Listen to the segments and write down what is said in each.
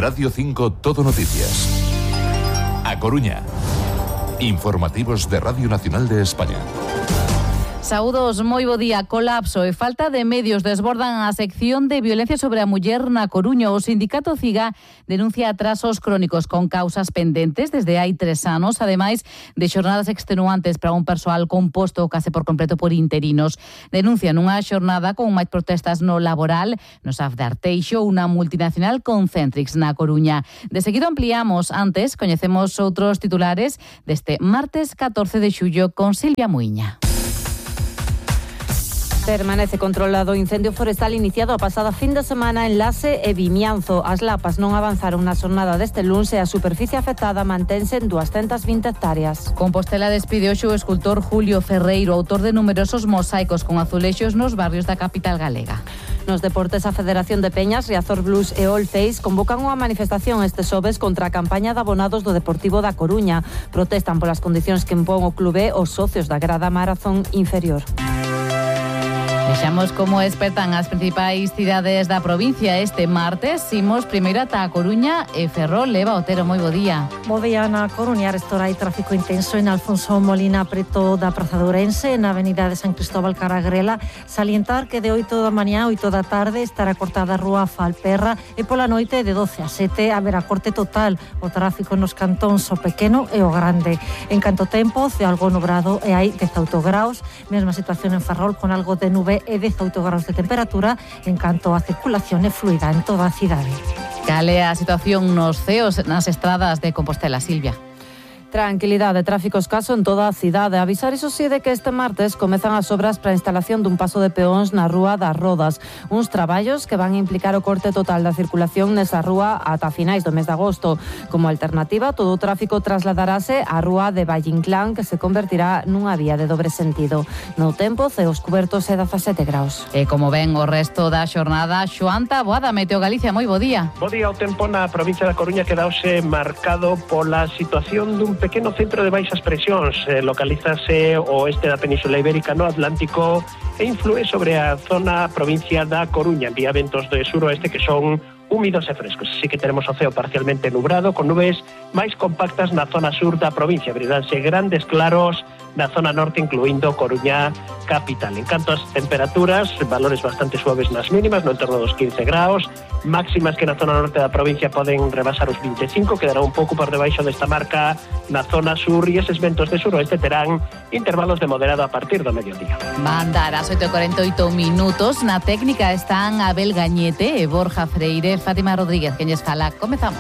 Radio 5 Todo Noticias. A Coruña. Informativos de Radio Nacional de España. Saúdos, moi bo día. Colapso e falta de medios desbordan a sección de violencia sobre a muller na Coruña. O sindicato CIGA denuncia atrasos crónicos con causas pendentes desde hai 3 anos, ademais de xornadas extenuantes para un persoal composto case por completo por interinos. Denuncian unha xornada con máis protestas no laboral no SAF de Arteixo, unha multinacional Concentrix na Coruña. De seguido ampliamos, antes coñecemos outros titulares deste martes 14 de xullo con Silvia Muiña. Permanece controlado o incendio forestal iniciado a pasada fin de semana en Laxe e Vimianzo. As lapas non avanzaron na xornada deste luns e a superficie afectada mantense en 220 hectáreas. Compostela despide hoxe o escultor Julio Ferreiro, autor de numerosos mosaicos con azulexos nos barrios da capital galega. Nos deportes, a Federación de Peñas, Riazor Blues e All Face convocan unha manifestación este xoves contra a campaña de abonados do Deportivo da Coruña. Protestan polas condicións que impón o clube os socios da grada marazón inferior. Vexamos como espertan as principais cidades da provincia este martes. Imos primeiro ata a Coruña e Ferrol. Eva Otero, moi bo día. Bo día na Coruña. Restora hai tráfico intenso en Alfonso Molina, preto da Praza de Ourense, na avenida de San Cristóbal Caragrela. Salientar que de 8 da mañá a 8 da tarde estará cortada a rúa Falperra e pola noite de 12 a 7 haberá corte total. O tráfico nos cantóns o pequeno e o grande. En canto tempo, ceo algo nubrado e hai 18 graus. Mesma situación en Ferrol con algo de nube e 18 graus de temperatura, en canto a circulación é fluida en toda a cidade. Cal é a situación nos ceos nas estradas de Compostela, Silvia? Tranquilidade, tráfico escaso en toda a cidade. Avisar iso sí de que este martes comezan as obras para a instalación dun paso de peóns na Rúa das Rodas. Uns traballos que van a implicar o corte total da circulación nesa rúa ata finais do mes de agosto. Como alternativa, todo o tráfico trasladarase á Rúa de Valle Inclán, que se convertirá nunha vía de dobre sentido. No tempo, ceos cubertos e 17 graus. E como ven o resto da xornada, Xoán Taboada, Meteo Galicia, moi bo día. Bo día, o tempo na provincia da Coruña quedaose marcado pola situación dun pequeno centro de baixas presións. Localízase o oeste da Península Ibérica no Atlántico e inflúe sobre a zona provincia da Coruña. Envía ventos de suroeste que son húmidos e frescos. Así que tenemos o ceo parcialmente nubrado con nubes máis compactas na zona sur da provincia. Abriránse grandes claros na zona norte, incluindo Coruña capital. En canto ás temperaturas, valores bastante suaves nas mínimas, no entorno dos 15 graus, máximas que na zona norte da provincia poden rebasar os 25, quedará un pouco por debaixo desta marca na zona sur e eses ventos de suroeste terán intervalos de moderado a partir do mediodía. Van dar as 8:48 minutos. Na técnica están Abel Gañete e Borja Freire. Fátima Rodríguez, que lles fala. Comezamos.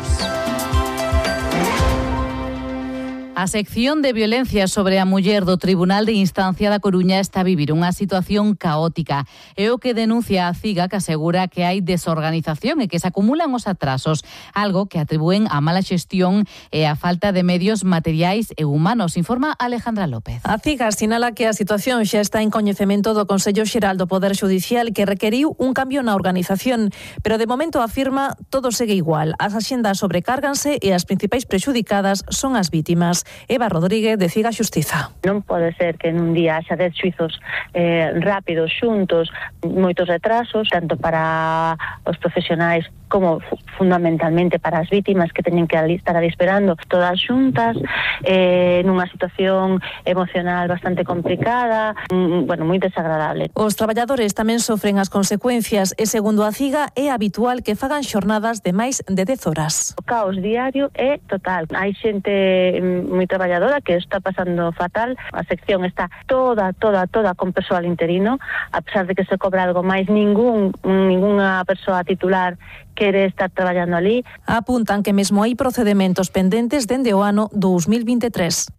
A sección de violencia sobre a muller do Tribunal de Instancia da Coruña está a vivir unha situación caótica. É o que denuncia a CIGA, que asegura que hai desorganización e que se acumulan os atrasos, algo que atribúen a mala xestión e a falta de medios materiais e humanos, informa Alejandra López. A CIGA sinala que a situación xa está en coñecemento do Consello Xeral do Poder Xudicial, que requeriu un cambio na organización, pero de momento afirma todo segue igual. As axendas sobrecárganse e as principais prexudicadas son as vítimas. Eva Rodríguez, de CIGA Xustiza. Non pode ser que en un día haxa 10 xuizos rápidos, xuntos, moitos retrasos, tanto para os profesionais como fundamentalmente para as vítimas que teñen que estar ali esperando todas xuntas, nunha situación emocional bastante complicada, moi desagradable. Os traballadores tamén sofren as consecuencias e, segundo a CIGA, é habitual que fagan xornadas de máis de 10 horas. O caos diario é total. Hai xente moi traballadora que está pasando fatal. A sección está toda con persoal interino, a pesar de que se cobra algo máis, ningunha persoa titular quere estar traballando ali. Apuntan que mesmo hai procedementos pendentes dende o ano 2023.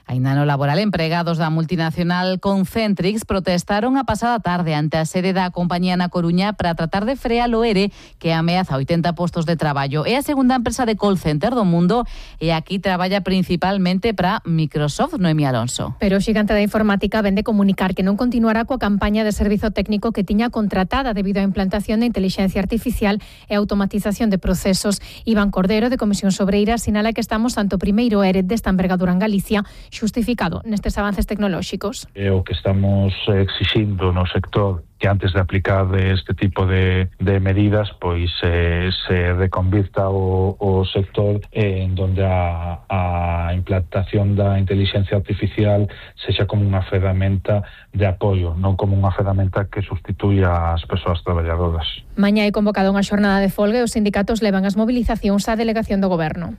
Aínda no laboral, empregados da multinacional Concentrix protestaron a pasada tarde ante a sede da compañía na Coruña para tratar de frear o ERE que ameaza 80 postos de traballo. É a segunda empresa de call center do mundo e aquí traballa principalmente para Microsoft. Noemí Alonso. Pero o xigante da informática vende comunicar que non continuará coa campaña de servizo técnico que tiña contratada debido á implantación de inteligencia artificial e automatización de procesos. Iván Cordero, de Comisión Sobreira, sinala que estamos ante o primeiro ERE desta envergadura en Galicia, xustificado nestes avances tecnolóxicos. O que estamos exixindo no sector que antes de aplicar este tipo de medidas pois se reconvirta o sector en donde a implantación da inteligencia artificial sexa como unha ferramenta de apoio, non como unha ferramenta que sustituya as persoas traballadoras. Mañá hai convocado unha xornada de folga e os sindicatos levan as mobilizacións á delegación do Goberno.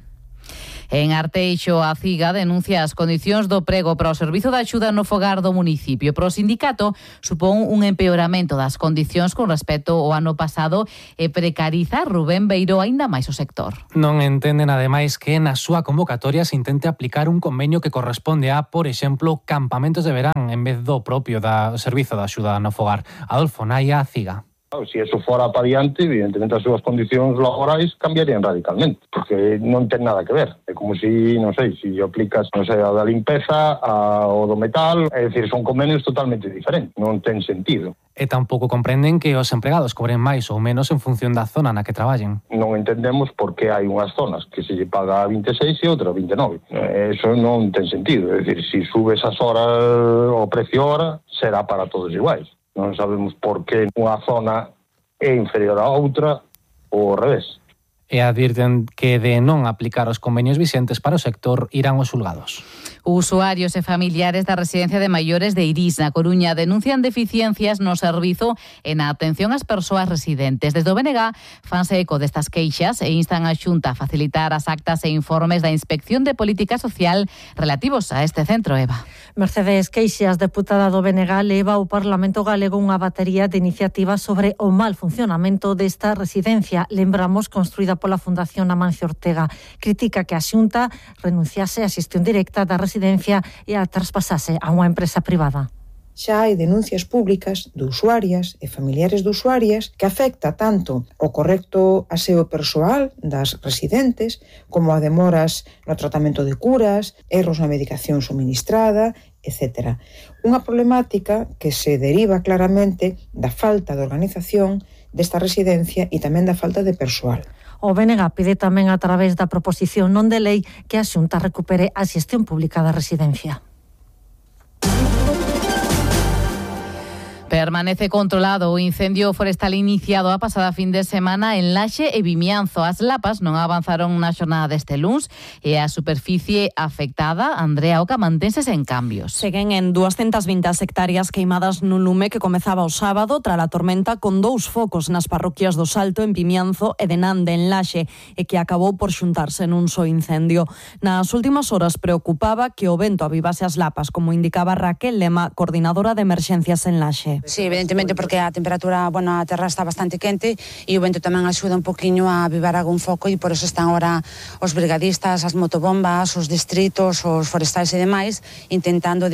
En Arteixo, a CIGA denuncia as condicións do prego para o servizo de axuda no fogar do municipio. Pero o sindicato supón un empeoramento das condicións con respecto ao ano pasado e precariza Rubén Beiro aínda máis o sector. Non entenden, ademais, que na súa convocatoria se intente aplicar un convenio que corresponde a, por exemplo, campamentos de verán en vez do propio da servizo de axuda no fogar. Adolfo Naya, CIGA. Se eso fora para diante, evidentemente as súas condicións laborais cambiarían radicalmente, porque non ten nada que ver. É como si, non sei, se aplicas, non sei, a da limpeza, ao do metal, é dicir, son convenios totalmente diferentes, non ten sentido. E tampouco comprenden que os empregados cobren máis ou menos en función da zona na que traballen. Non entendemos por que hai unhas zonas que se lle paga a 26 e outra a 29. Eso non ten sentido, é dicir, se subes as horas, o precio hora, será para todos iguais. Non sabemos por que unha zona é inferior a outra ou ao revés. E advirten que de non aplicar os convenios vixentes para o sector irán os xulgados. Usuarios e familiares da residencia de maiores de Irís, na Coruña, denuncian deficiencias no servizo e na atención ás persoas residentes. Desde o BNG fanse eco destas queixas e instan a Xunta a facilitar as actas e informes da Inspección de Política Social relativos a este centro, Eva. Mercedes Queixas, deputada do BNG, leva ao Parlamento Galego unha batería de iniciativas sobre o mal funcionamento desta residencia. Lembramos, construída pola Fundación Amancio Ortega. Critica que a Xunta renunciase á xestión directa da residencia e a traspasase a unha empresa privada. Xa hai denuncias públicas de usuarias e familiares de usuarias que afecta tanto o correcto aseo persoal das residentes como a demoras no tratamento de curas, erros na medicación suministrada, etc. Unha problemática que se deriva claramente da falta de organización desta residencia e tamén da falta de persoal. O BNG pide tamén a través da proposición non de lei que a Xunta recupere a xestión pública da residencia. Permanece controlado o incendio forestal iniciado a pasada fin de semana en Laxe e Vimianzo. As lapas non avanzaron na xornada deste luns e a superficie afectada, Andrea Oca, mantense sen cambios. Seguen en 220 hectáreas queimadas nun lume que comezaba o sábado tras a tormenta, con 2 focos nas parroquias do Salto, en Vimianzo, e de Nande, en Laxe, e que acabou por xuntarse nun só incendio. Nas últimas horas preocupaba que o vento avivase as lapas, como indicaba Raquel Lema, coordinadora de emerxencias en Laxe. Sí, evidentemente, porque a temperatura, a terra está bastante quente e o vento tamén axuda un poquinho a avivar algún foco, e por eso están ahora os brigadistas, as motobombas, os distritos, os forestais e demais intentando,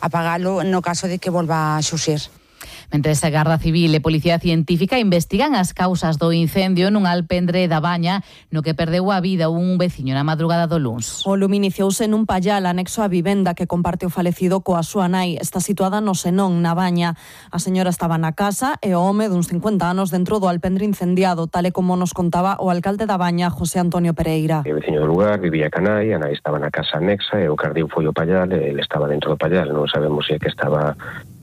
apagalo no caso de que volva a xuxir. Mentres a Garda Civil e Policía Científica investigan as causas do incendio nun alpendre da Baña, no que perdeu a vida un veciño na madrugada do luns. O lume iniciouse nun pallal anexo á vivenda que comparte o falecido coa súa nai. Está situada no Senón, na Baña. A señora estaba na casa e o home duns 50 anos dentro do alpendre incendiado, tal e como nos contaba o alcalde da Baña, José Antonio Pereira. O veciño do lugar vivía ca nai, a nai estaba na casa anexa e o cardiu foi o pallal e ele estaba dentro do pallal. Non sabemos se é que estaba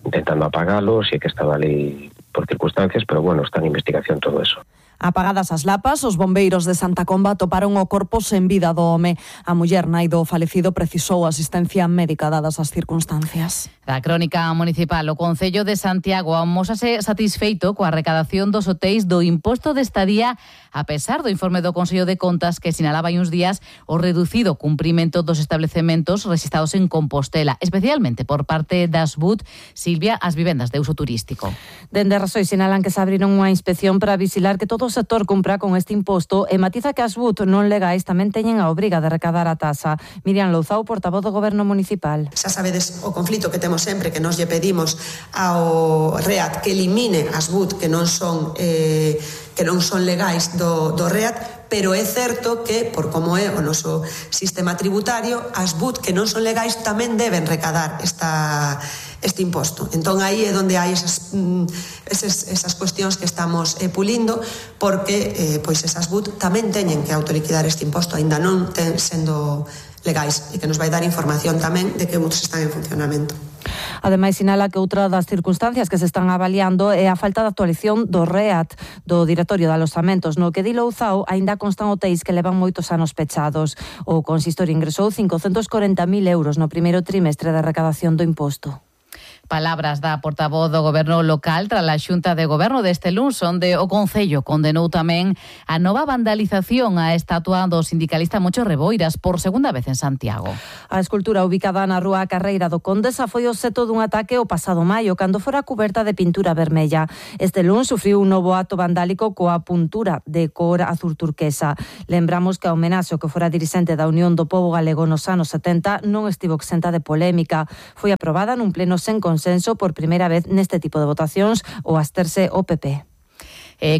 intentando apagalo, si é que estaba ali por circunstancias, pero está en investigación todo eso. Apagadas as lapas, os bombeiros de Santa Comba toparon o corpo sen vida do home. A muller nai do falecido precisou asistencia médica dadas as circunstancias. Da crónica municipal, o Concello de Santiago amósase satisfeito coa recadación dos hotéis do imposto de estadía, a pesar do informe do Consello de Contas que sinalaba hai uns días o reducido cumprimento dos establecementos rexistrados en Compostela, especialmente por parte das BUT, Silvia, as vivendas de uso turístico. Dende Rasoi sinalan que se abriron unha inspección para vigilar que todo o sector cumpra con este imposto e matiza que as BUT non legais tamén teñen a obriga de recadar a tasa. Miriam Louzao, portavoz do Goberno Municipal. Xa sabedes o conflito que temos sempre, que nos lle pedimos ao REAT que elimine as BUT que non son que non son legais do REAT, pero é certo que, por como é o noso sistema tributario, as BUT que non son legais tamén deben recadar este imposto. Entón aí é onde hai esas cuestións que estamos pulindo, porque pois esas BUT tamén teñen que autoliquidar este imposto, aínda non sendo legais, e que nos vai dar información tamén de que BUTs están en funcionamento. Ademais, sinala que outra das circunstancias que se están avaliando é a falta de actualización do REAT, do Directorio de Alosamentos, no que di Louzao aínda constan hotéis que levan moitos anos pechados. O consistorio ingresou 540.000 euros no primeiro trimestre de recadación do imposto. Palabras da portavoz do Goberno local tras a Xunta de Goberno deste luns, onde o Concello condenou tamén a nova vandalización á estatua do sindicalista Mocho Reboiras por segunda vez en Santiago. A escultura ubicada na rúa Carreira do Condesa foi obxecto dun ataque o pasado maio, cando fora cuberta de pintura vermella. Este luns sufriu un novo acto vandálico coa puntura de cor azul turquesa. Lembramos que a homenaxe ao que fora dirixente da Unión do Pobo Galego nos anos 70 non estivo exenta de polémica. Foi aprobada nun pleno sen consenso por primeira vez neste tipo de votacións ao absterse o PP.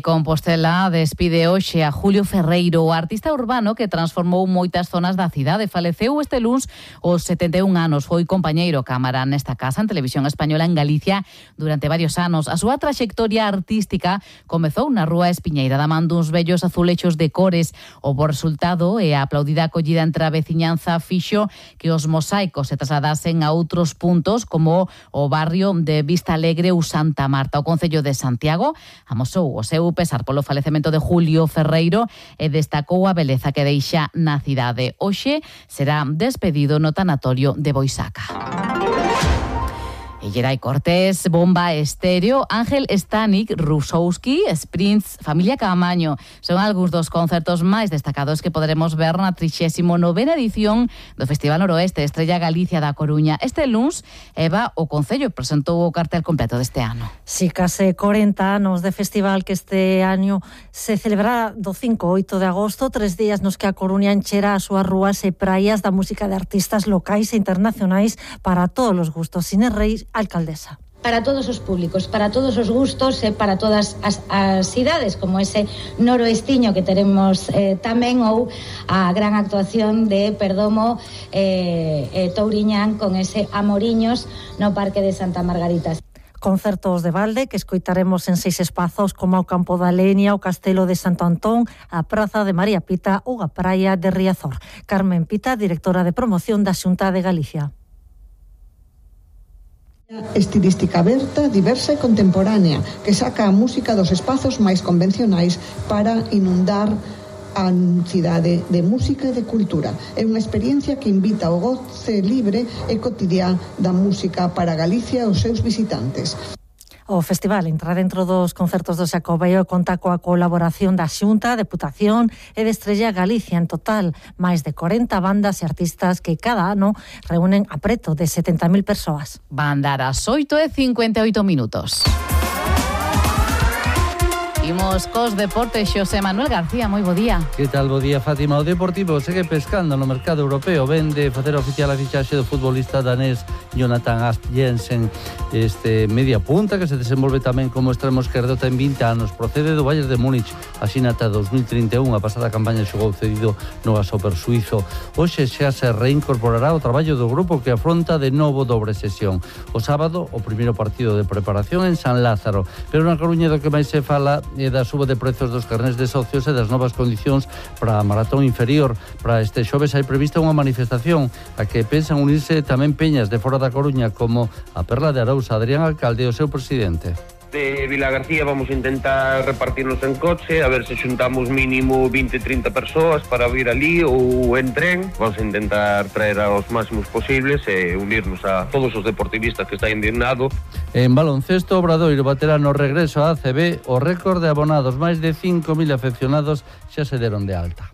Compostela despide hoxe a Julio Ferreiro, o artista urbano que transformou moitas zonas da cidade. Faleceu este luns aos 71 anos. Foi compañeiro cámara nesta casa en Televisión Española en Galicia durante varios anos. A súa traxectoria artística comezou na Rúa Espiñeira da man duns bellos azulechos de cores. O bo resultado e a aplaudida acollida entre a veciñanza fixo que os mosaicos se trasladasen a outros puntos como o barrio de Vista Alegre ou Santa Marta. O Concello de Santiago amosou o seu pesar polo falecemento de Julio Ferreiro e destacou a beleza que deixa na cidade. Hoxe será despedido no tanatorio de Boisaca. Geray Cortés, Bomba Estéreo, Ángel Stanik, Rusowski, Sprints, Familia Caamaño. Son algúns dos concertos máis destacados que poderemos ver na 39ª edición do Festival Noroeste Estrella Galicia da Coruña. Este luns, Eva, o Concello presentou o cartel completo deste ano. Si, case 40 anos de festival que este ano se celebrará do 5 ao 8 de agosto, 3 días nos que a Coruña encherá as súas rúas e praias da música de artistas locais e internacionais para todos os gustos. Inés Reis, alcaldesa. Para todos os públicos, para todos os gustos e para todas as cidades, como ese noroestiño que teremos tamén, ou a gran actuación de Perdomo Touriñán con ese Amoriños no Parque de Santa Margarita. Concertos de balde que escoitaremos en 6 espazos como o Campo da Lenia, o Castelo de Santo Antón, a Praza de María Pita ou a Praia de Riazor. Carmen Pita, directora de promoción da Xunta de Galicia. Estilística aberta, diversa e contemporánea, que saca a música dos espazos máis convencionais para inundar a cidade de música e de cultura. É unha experiencia que invita ao goce libre e cotidián da música para Galicia e os seus visitantes. O festival entra dentro dos concertos do Xacobeo e conta coa colaboración da Xunta, Deputación e de Estrella Galicia. En total, máis de 40 bandas e artistas que cada ano reúnen a preto de 70.000 persoas. Van dar as 8:58. Imos cos deportes, Xosé Manuel García, moi bo día. Que tal, bo día, Fátima? O Deportivo segue pescando no mercado europeo. Vende facer oficial a fichaxe do futbolista danés Jonathan Asp Jensen, este media punta que se desenvolve tamén como extremo esquerdo, ten 20 anos, procede do Bayern de Múnich, asina ata 2031, a pasada campaña xogou cedido no Grasshopper suizo. Hoxe xa se reincorporará o traballo do grupo que afronta de novo dobre sesión. O sábado, o primeiro partido de preparación en San Lázaro, pero na Coruña do que máis se fala e da suba de prezos dos carnés de socios e das novas condicións para a maratón inferior. Para este xoves hai prevista unha manifestación a que pensan unirse tamén peñas de fora da Coruña como a Perla de Arousa, Adrián Alcalde e o seu presidente. De Vilagarcía vamos a intentar repartirnos en coche, a ver se xuntamos mínimo 20-30 persoas para vir ali ou en tren. Vamos a intentar traer aos máximos posibles e unirnos a todos os deportivistas que está indignado. En baloncesto, Obradoiro baterá no regreso á ACB o récord de abonados. Máis de 5.000 afeccionados xa se deron de alta.